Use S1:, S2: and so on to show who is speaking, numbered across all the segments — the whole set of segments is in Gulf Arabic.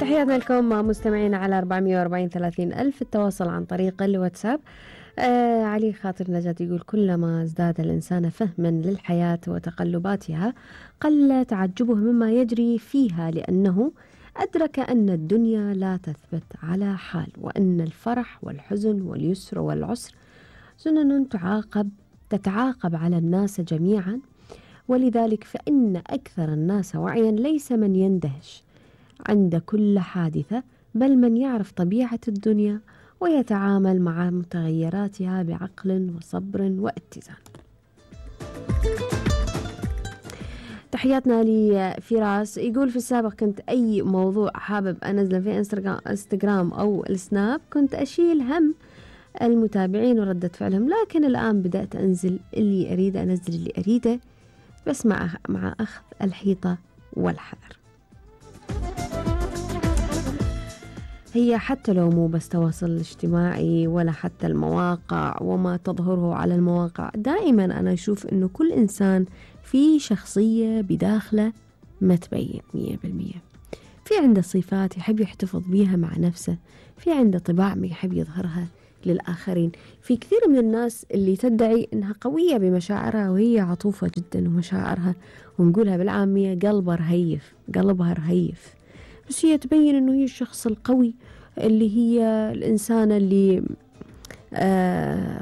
S1: تحياتنا لكم مستمعين على 440-30 ألف. التواصل عن طريق الواتساب. علي خاطر نجاة يقول: كلما ازداد الإنسان فهما للحياة وتقلباتها قل تعجبه مما يجري فيها، لأنه أدرك أن الدنيا لا تثبت على حال، وأن الفرح والحزن واليسر والعسر سنن تتعاقب على الناس جميعا. ولذلك فإن أكثر الناس وعيا ليس من يندهش عند كل حادثة، بل من يعرف طبيعة الدنيا ويتعامل مع متغيراتها بعقل وصبر واتزان. تحياتنا لفراس يقول: في السابق كنت أي موضوع حابب أنزله في انستغرام أو السناب كنت أشيل هم المتابعين وردة فعلهم، لكن الآن بدأت أنزل اللي أريده، أنزل اللي أريده، بس مع أخذ الحيطة والحذر. هي حتى لو مو بس تواصل اجتماعي ولا حتى المواقع وما تظهره على المواقع، دائما أنا أشوف أنه كل إنسان في شخصية بداخله ما تبين 100%. في عنده صفات يحب يحتفظ بيها مع نفسه، في عنده طباع ما يحب يظهرها للآخرين. في كثير من الناس اللي تدعي أنها قوية بمشاعرها وهي عطوفة جدا ومشاعرها، ونقولها بالعامية قلبها رهيف، بس هي تبين أنه هي الشخص القوي، اللي هي الإنسانة اللي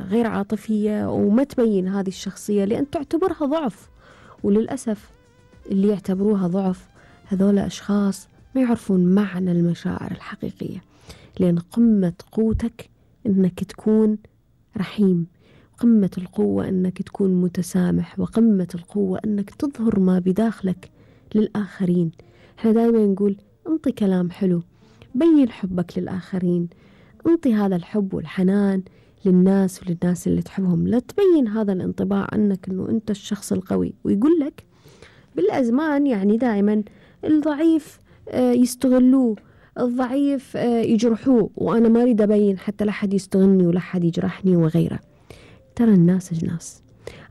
S1: غير عاطفية، وما تبين هذه الشخصية لأن تعتبرها ضعف. وللأسف اللي يعتبروها ضعف هذول أشخاص ما يعرفون معنى المشاعر الحقيقية، لأن قمة قوتك أنك تكون رحيم، قمة القوة أنك تكون متسامح، وقمة القوة أنك تظهر ما بداخلك للآخرين. احنا دائما نقول: انطي كلام حلو، بين حبك للآخرين، انطي هذا الحب والحنان للناس وللناس اللي تحبهم، لا تبين هذا الانطباع عنك أنه أنت الشخص القوي. ويقول لك بالأزمان يعني دائما الضعيف يستغلوه، الضعيف يجرحوه، وأنا ما أريد أبين حتى لا حد يستغلني ولا حد يجرحني وغيره. ترى الناس أجناس،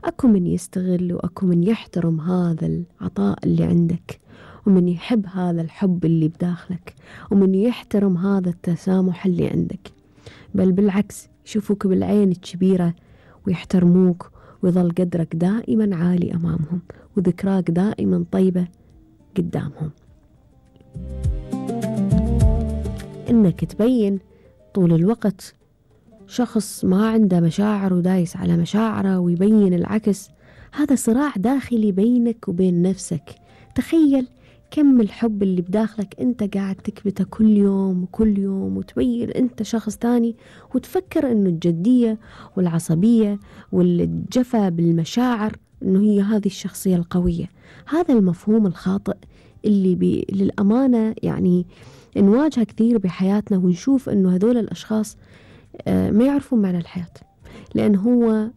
S1: أكو من يستغل وأكو من يحترم هذا العطاء اللي عندك، ومن يحب هذا الحب اللي بداخلك، ومن يحترم هذا التسامح اللي عندك، بل بالعكس يشوفوك بالعين الكبيرة ويحترموك، ويظل قدرك دائما عالي أمامهم، وذكراك دائما طيبة قدامهم. إنك تبين طول الوقت شخص ما عنده مشاعر ودايس على مشاعره ويبين العكس، هذا صراع داخلي بينك وبين نفسك. تخيل كم الحب اللي بداخلك أنت قاعد تكبته كل يوم وكل يوم، وتبين أنت شخص تاني، وتفكر أنه الجدية والعصبية والجفا بالمشاعر أنه هي هذه الشخصية القوية. هذا المفهوم الخاطئ اللي للأمانة يعني نواجه كثير بحياتنا، ونشوف أنه هذول الأشخاص ما يعرفون معنى الحياة، لأن هو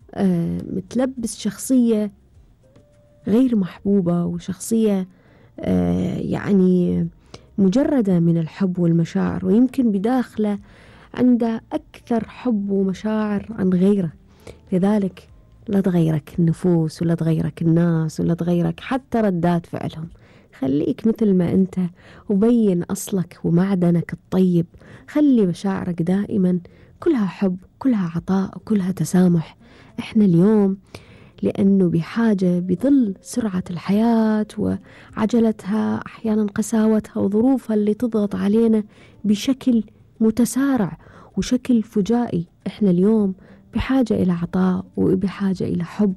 S1: متلبس شخصية غير محبوبة، وشخصية يعني مجردة من الحب والمشاعر، ويمكن بداخله عنده أكثر حب ومشاعر عن غيره. لذلك لا تغيرك النفوس ولا تغيرك الناس ولا تغيرك حتى ردات فعلهم، خليك مثل ما أنت وبين أصلك ومعدنك الطيب. خلي مشاعرك دائما كلها حب، كلها عطاء، كلها تسامح. إحنا اليوم لأنه بحاجة بظل سرعة الحياة وعجلتها، أحيانا قساوتها وظروفها اللي تضغط علينا بشكل متسارع وشكل فجائي، إحنا اليوم بحاجة إلى عطاء، وبحاجة إلى حب،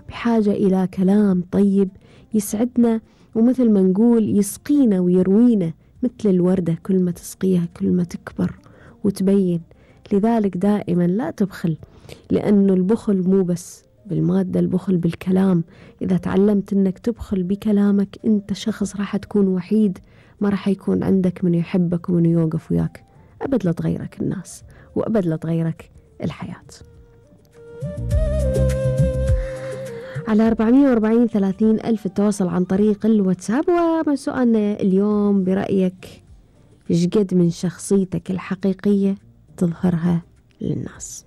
S1: بحاجة إلى كلام طيب يسعدنا، ومثل ما نقول يسقينا ويروينا مثل الوردة، كل ما تسقيها كل ما تكبر وتبين. لذلك دائما لا تبخل، لأنه البخل مو بس بالمادة، البخل بالكلام. إذا تعلمت أنك تبخل بكلامك، أنت شخص راح تكون وحيد، ما راح يكون عندك من يحبك ومن يوقف وياك. أبد لا تغيرك الناس، وأبد لا تغيرك الحياة. على 440-30 ألف التواصل عن طريق الواتساب. وسؤالنا اليوم: برأيك إيش قد من شخصيتك الحقيقية تظهرها للناس؟